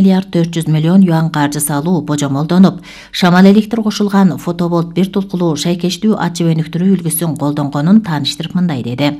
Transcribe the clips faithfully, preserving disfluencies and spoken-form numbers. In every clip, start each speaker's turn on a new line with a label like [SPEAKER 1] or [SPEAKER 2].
[SPEAKER 1] миллиард төрт жүз миллион юан каржы салуу божомолдонуп, шамал электр кошулган фотоболт бир тулкулуу шайкештүү ачып өнүктүрүү үлгүсүн колдонгонун тааныштырып мындай деди.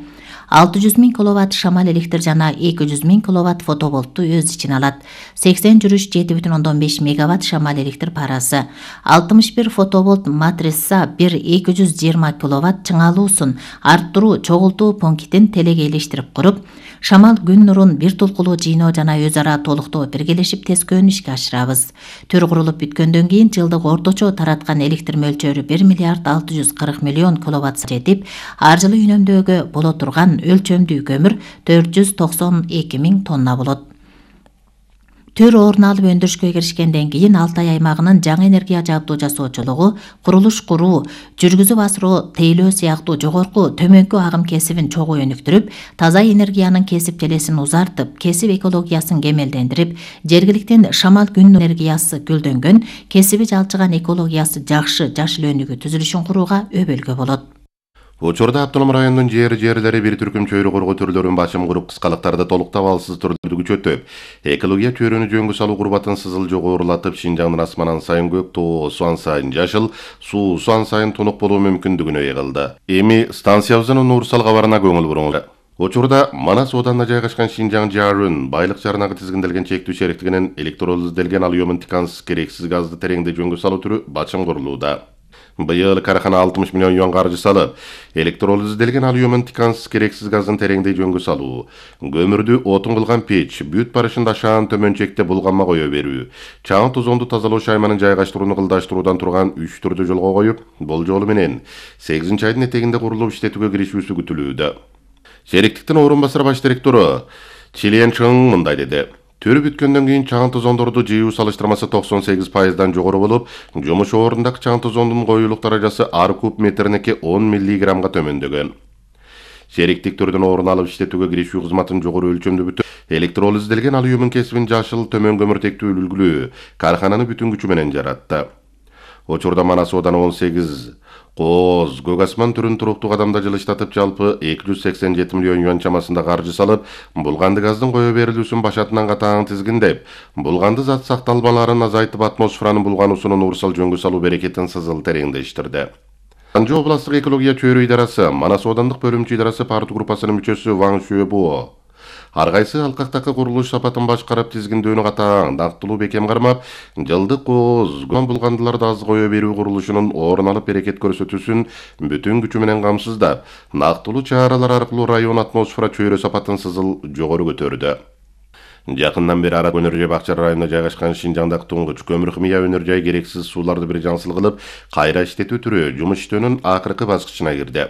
[SPEAKER 1] алты жүз миң киловатт шамал электр жана эки жүз миң киловатт фотоболтту өз ичине алат. сексен жүрүш жети бүтүн ондон беш мегаватт шамал электр парасы. алтымыш бир фотоболт матрисса бир эки жүз жыйырма киловатт чыңалуусун арттыруу чогултуу пунктин телегейлештирип куруп, шамал күн нурун бир тулкулуу жыйноо жана өз ара толуктоо биргелешип тескөөнү ишке ашырабыз. Төр курулуп бүткөндөн кийин жылдык орточо тараткан электр мөлчөрү бир миллиард алты жүз кырк миллион киловатт жетип, ар жылы үнөмдөөгө боло турган өлчөмдүү көмүр төрт жүз токсон эки миң тонна болот. Төр орун алып өндүрүшкө киришкенден кийин Алтай аймагынын жаңы энергия жабдуу жасоочулугу, курулуш куруу, жүргүзүп асыруу, тейлөө сыяктуу жогорку төмөнкү агым кесибин чогуу өнүктүрүп, таза энергиянын кесип желесин узартып, кесип экологиясын кемелдендирип, жергиликтен шамал күн энергиясы гүлдөнгөн, кесиби жалчыган экологиясы жакшы жашыл өндүгү түзүлүшүн курууга өбөлгө болот.
[SPEAKER 2] Учурда автоном райондун жер жерлери бир түркүм чөйрө коргоо түрлөрүн басым куруп, кыскалыктарды толук табалсыз түрдү күчөтүп, экология чөйрөнү жөнгө салуу курбатын сызыл жогорулатып, Шинжаңдын асманан сайын көк, тоо суан сайын жашыл, суу суан сайын тунук болуу мүмкүндүгүнө ыйгылды. Эми станциябыздын Нурсал кабарына көңүл буруңуздар. Учурда Манас оданына жайгашкан Шинжаң Жарын байлык жарнагы тизгинделген чектүү шериктигинин электролизделген алюмин тикансыз керексиз газды тереңде жөнгө салуу түрү бачым курулууда. Быйыл карахана алтымыш миллион юан каржы салып, электролизделген алюмин тикансыз керексиз газдын тереңде жөнгө салуу, көмүрдү отун кылган печ, бүт барышында шаан төмөнчекте булганма кое берүү, чаң тозонду тазалоо шайманын жайгаштырууну кылдаштыруудан турган үч түрдү жолго коюп, бул жолу менен сегизинчи айдын этегинде курулуп иштетүүгө киришүүсү күтүлүүдө. Шериктиктин орун басар баш директору Чилен Чың мындай деди. Төрү бүткөндөн кийин чаң тозондорду жыйуу салыштырмасы токсон сегиз пайыздан жогору болуп, жумуш ордундагы чаң тозондун коюулук даражасы ар куб метрине он миллиграммга төмөндөгөн. Шериктик түрдөн орун алып иштетүүгө киришүү кызматын жогору өлчөмдүү бүтүп, электролизделген алюмин кесибин жашыл төмөн көмүртектүү үлгүлүү кархананы бүтүн күчү менен жаратты. Учурда Манас ооданы он сегиз кооз, көк асман түрүн туруктуу кадамда жылыштатып, жалпы эки жүз сексен жети миллион юан чамасында каржы салып, булганды газдын кое берилүүсүн башатынан катаң тизгиндеп, булганды зат сакталмаларын азайтып, атмосферанын булгануусунун Нурсал жөнгө салуу берекетин сызыл тереңдештирди. Анжы областтык экология чөйрө идарасы, Манас оодандык бөлүмчө идарасы партия группасынын мүчөсү Ваң Шуэбо ар кайсы алкактагы курулуш сапатын башкарып, тизгиндөөнү катаң дактылуу бекем кармап, жылдык кооз ган булгандыларды аз кое берүү курулушунун орун алып берекет көрсөтүүсүн бүтүн күчү менен камсыздап, нактылуу чаралар аркылуу район атмосфера чөйрө сапатын сызыл жогору көтөрдү. Жакындан бери Ара Өнөр жай Бакчар районунда жайгашкан Шинжаңдагы туңгуч көмүр химия өнөр жай керексиз сууларды бир жансыл кылып, кайра иштетүү түрү жумуш иштөөнүн акыркы баскычына кирди.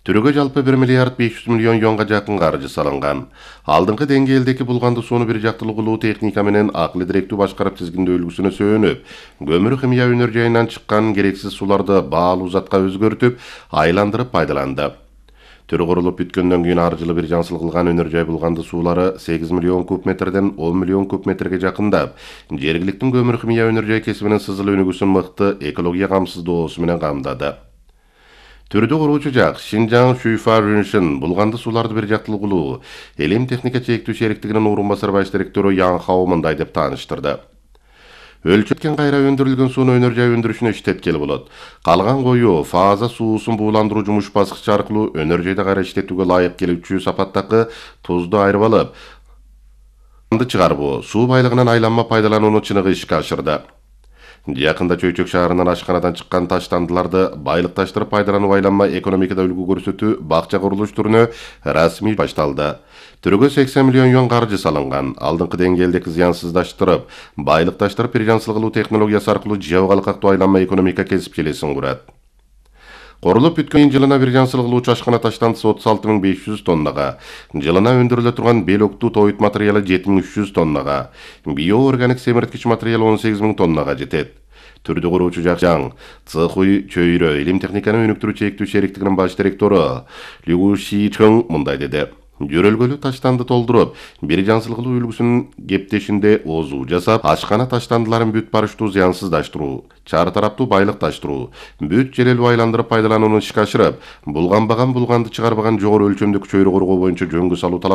[SPEAKER 2] Түрүгө жалпы бир миллиард беш жүз миллион юанга жакын каржы салынган. Алдыңкы деңгээлдеги булганды сууну бир жактылуу кылуу техника менен акылы директүү башкарып тизгиндөө үлгүсүнө сөөнүп, көмүр химия өнөр жайынан чыккан керексиз сууларды баалуу затка өзгөртүп, айландырып пайдаланды. Түрү курулуп бүткөндөн кийин ар жылы бир жансыл кылган өнөр жай булганды суулары сегиз миллион куб метрден он миллион куб метрге жакындап, жергиликтин көмүр химия өнөр жай кесибинин сызыл өнүгүүсүн мыкты экология камсыздоосу менен камдады. Түрдү куруучу жак Шинжаң Шуйфаршин булганды сууларды бир жактылуу кылуу Элем техника чектүү шериктигинин орун басар баш директору Ян Хао мындай деп тааныштырды. Өлчөткен кайра өндүрүлгөн сууну өнөр жай өндүрүшүнө иштеткеле болот. Калган кою фаза суусун бууландыруу жумуш баскычы аркылуу өнөр жайда кайра иштетүүгө ылайык келүүчү сапаттагы тузду айырып алып, анды чыгарбоо, суу байлыгынан айланма пайдаланууну чыныгы ишке ашырды. Жакында Чөйчөк шаарынан ашканадан чыккан таштандыларды байлыкташтырып пайдалануу айланма экономикада үлгү көрсөтүү бакча курулуш түрүнө расмий башталды. Түрүгө сексен миллион юан каржы салынган. Алдыңкы деңгээлдеги зыянсыздаштырып, байлыкташтырып бир жансыл кылуу технологиясы аркылуу жөө калкактуу айланма экономика кесип желесин курат. Корулуп бүткөн жылына бир жансыл кылуучу ашкана таштандысы отуз алты миң беш жүз тоннага, жылына өндүрүлө турган белоктуу тоют материалы жети миң үч жүз тоннага, биоорганик семирткич материал он сегиз миң тоннага жетет. Түрдү куруучу Жакжаң Цхуй чөйрө Элем техниканы өнүктүрүү чектүү шериктигинин баш директору Лю Ши Чың мындай деди. Жөрөлгөлүү таштанды толтуруп, бир жансыл кылуу үлгүсүнүн кептешинде озуу жасап, ашкана таштандыларын бүт барыштуу зыянсыздаштыруу, чар тараптуу байлыкташтыруу, бүт желелүү айландырып пайдаланууну ишке ашырып, булганбаган булганды чыгарбаган жогору өлчөмдүк чөйрө коргоо боюнча жөнгө салуу талап